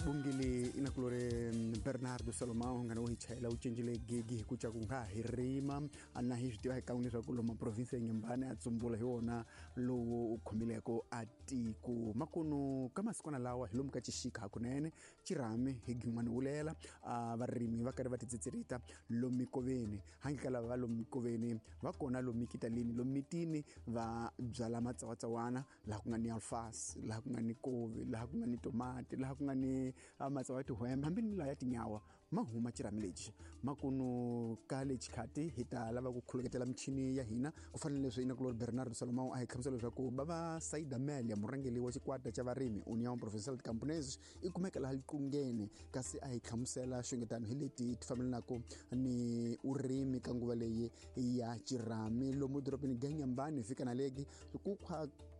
Xibongile inakulore Bernardo Salomão ngana wo hi chayela u cincile gigi hi ku ca ku nga hi rima na hi swi tiva hi kan'we leswaku lomu province ya Nyembane a tsumbula hi wona lowu u khomileko a tiko makunu ka masikwana lawa hi lomu ka xixika hakunene xirhami hi gin'wana wulela varimi va karhi va titsitsilita lomu mikoveni handle ka lava va lomu mikoveni va kona lomu mikitalini lomu mitini va byala matsawatsawana laha ku nga ni alfasi laha ku nga ni kovi laha ku nga ni tomati laha ku nga ni matsawa ya tihwembe hambi ni laha ya tinyawa ma huma xirhami lexi makunu ka lexi khati hi ta lava ku khuluketela michini ya hina ku fana na leswi inakulori Bernardo Salomão a hi hlamusela leswaku bava Saida Melia murhangeri wa xikwata xa varimi União Provincial de Camponeses i kumeka laha Liqungeni kasi a hi hlamusela xungetano hi leti ti fambelanaka ni urimi ka nguva leyi ya xirhami lomu dorobeni Ganyambani fika na legi ku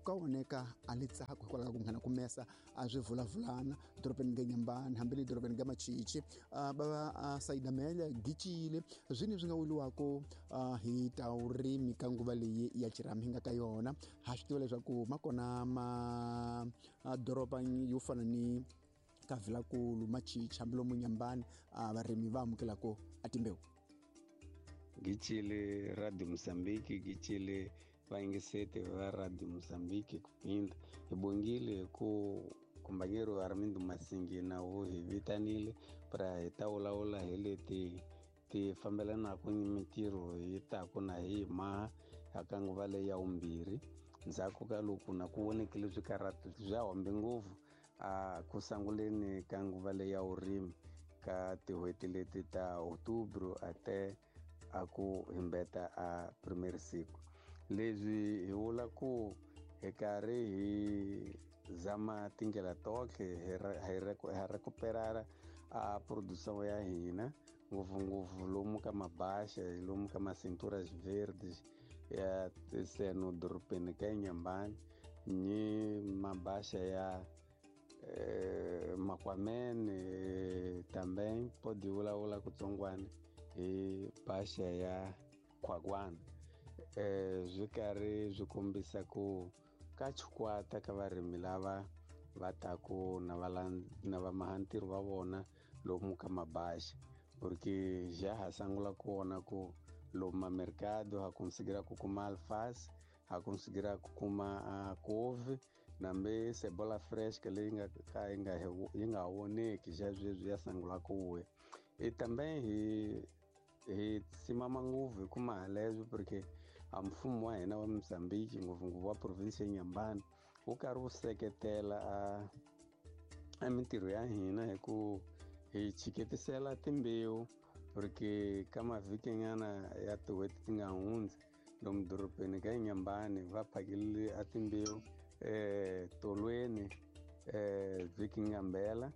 ka oneka a li tsako hikwalaho ka ku nghena ku mesa a swi vulavulana dorobeni Ganyambani hambi le dorobeni ga Machichi bava Saida Melia gicile swini swi nga wuriwaka hi ta vurimi ka nguva leyi ya xirhami hi nga ka yona ha swi tiva leswaku ma kona madoroba yo fana ni ka Vilakulu Machichi hambi lomu Nyambani varimi va amukelaka a timbewu. Gicile Radio Mozambique, gicile vayingiseti va Radio Mozambique kupinda hi bongile ku kumbanyero Armindo Masingi na wu hi vitanile pra hi ta vulavula hi leti ti fambelanaka ni mintirho yi taku na hi maha ka nguva leyi ya vumbirhi ndzhaku ka loko na ku vonekile swikarhato bya hombe ngopfu a ku sanguleni ka nguva leyi ya vurimi ka tin'hweti leti ta Outubro ate a ku himbeta a primary siku leswi hi vula ku hi karhi hi zama tindlela tohle hi recuperara a produção ya hina ngopfungopfu lomu ka mabasha lomu ka macinturas verdes ya seno dorobeni ka Inhambane ni mabasha ya Makwamene também pode vulavula kutsongwana hi basha ya Khwakwana swi karhi swi kombisa ku ka xikwata ka varimi lava va taku na na vamahantirho va vona lomu ka mabasha porque já ha sangula ku vona ku lomu mamercado ha conseguira ku kuma alface ha conseguira ku kuma couve nambe cebola fresca leyi nga ka yi nga voneki xa sweswi ya sangula ku vuya e também hi simama ngopfu hi kuma haleswo porque a mfumo wa hina wa Mozambique ngopfungopfu wa province ya Inhambane wu karhi wu seketela a mintirho ya hina hi ku hi chiketisela timbewu porque ka mavhikinyana ya tin'hweti ti nga hundza lomu dorobeni ka Inhambane va phakelile a timbewu tolweni vhiki ngambela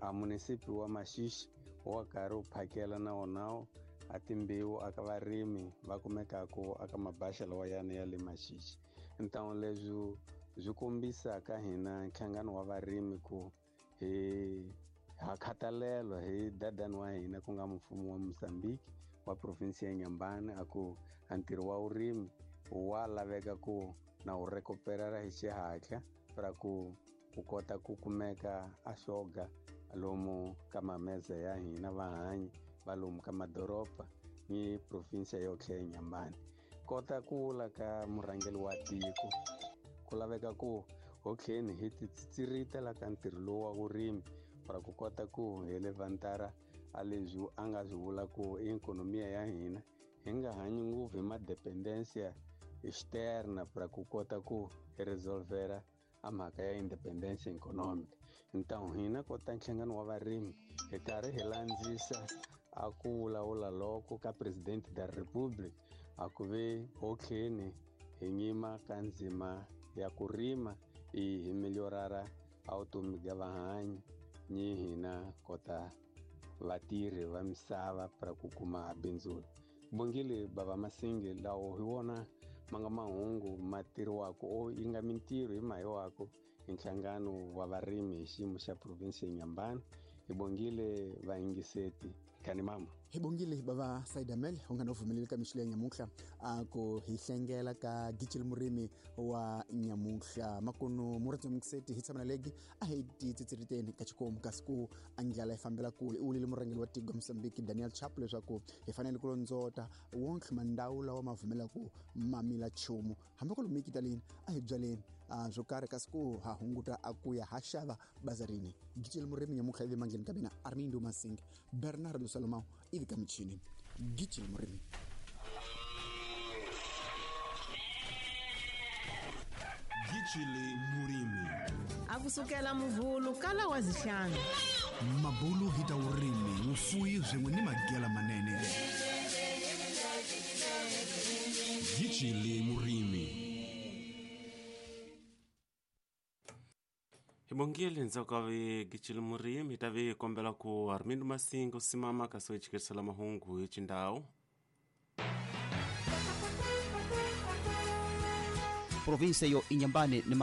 a munisipi wa Maxixe wa karhi wu phakela na wona a timbewu aka varimi va kumekaka aka mabasha lawa yana ya le Maxixe. Então leswi swi kombisa ka hina nhlangano wa varimi ku hi ha khathalelwa hi dadani wa hina ku nga mfumo wa Mozambique wa province ya Inhambane a ku a ntirho wa vurimi wa laveka ku na wu recuperara hi xihatla ra ku kota ku kumeka a xoga lomu ka mameza ya hina vahanyi va lomu ka madoroba ni province yotlhe ya Inhambane. Kota ku vula ka murhangeri wa tiko ku laveka ku hotlheni hi titsirita la ka ntirho lowu wa vurimi para ku kota ku hi levantara a leswi a nga swi vula ku i ikhonomiya ya hina hi nga hanyi ngopfu hi madependencia externa para ku kota ku hi resolvera a mhaka ya independence economic. Então hina kota nhlangano wa varimi hi karhi hi landzisa a ku vulavula loko ka presidente da republic a ku ve hotlheni hi nyima ka ndzima ya ku rima i hi meliorara a vutomi bya vahanyi ni hina kota vatirhi va misava para ku kuma bindzu. Bongile bava Masingi lawo hi wona ma nga mahungu ma tirhiwaka o yi nga mintirho hi mahiwaka hi nhlangano wa varimi hi xiyimo xa province ya Inhambane. Hi bongile vayingiseti Kanimambo. Hi bongile bava Saidamel u nga no pfumeleli ka mixilo ya nyamuhla a ku hi hlengela ka Gicil Murimi wa nyamuhla makunu murindzi mukiseti hi tshama na legi a hi titsitsiliteni ka xikomu kasi ku a ndlala yi fambela kule i wulile murhangeri wa tiko Mozambique Daniel Chapo leswaku hi fanele ku londzota wonke mandhawu lawa ma pfumelaku ma mila nchumu hambi ku lomu kitaleni a hi byaleni swo karhi kasi ku ha hunguta a ku ya ha xava bazarini. Gicil Murimi nyamuhla ivi mandleni ka mina Armindo Masing Bernardo Salomão ivi ka michini. Gicil Murimi. Gicile Murimi. Akusukela muvhulu kala wa zihlanu. Mabulu hi ta vurimi, vufuwi swin'we ni magela manene. Gicile Murimi. Hi bongile ndzhaku ka vi Gicile Murimi hi ta vi kombela ku Armindo Masinga u simama kasi u hi chikerisela mahungu hi xindhawu. Provinsia yo Inhambane ni